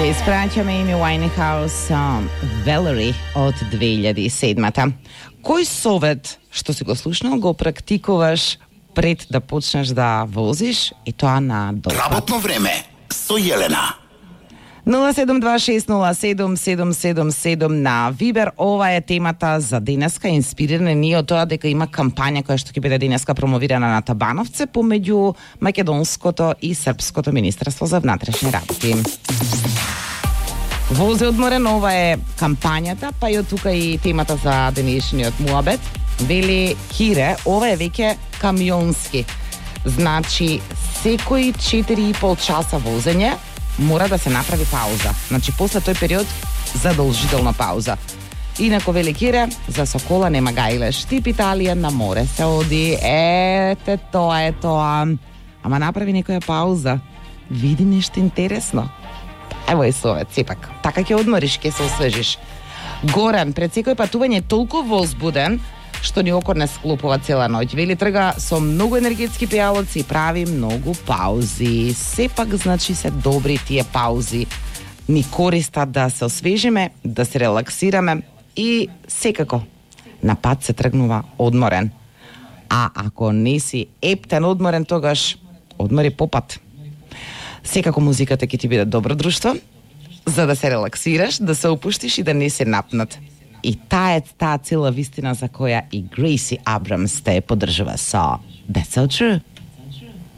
Ја испраќаме Amy Winehouse Valerie од 2007-та. Кој совет што си го слушнал го практикуваш пред да почнеш да возиш и тоа на допат? Работно време со Јелена. 072607777 на Вибер. Ова е темата за денеска, инспирирана ние од тоа дека има кампања која што ќе биде денеска промовирана на Табановце помеѓу македонското и српското министерство за внатрешни работи. Вози одморен, ова е кампањата, па и од тука и темата за денешниот муабет. Вели Кире, ова е веќе камионски. Значи, секои 4,5 часа возење мора да се направи пауза. Значи, после тој период, задолжителна пауза. Инако, вели Кире, за Сокола нема гајлеш. Тип Италија на море се оди. Ете, тоа е тоа. Ама направи некоја пауза. Види нешто интересно. Ево е совет, сепак. Така ќе одмориш, ќе се освежиш. Горан, пред секој патување толку возбуден, што ни окор не склопува цела ноќ. Вели трга со многу енергетски пијалоци и прави многу паузи. Сепак, значи, се добри тие паузи. Ни користат да се освежиме, да се релаксираме и секако на пат се тргнува одморен. А ако не си ептен одморен, тогаш одмори по пат. Секако музиката ќе ти биде добро друштво, за да се релаксираш, да се опуштиш и да не се напнат. И таа цела вистина за која и Грейси Абрамс те поддржува со That's So True.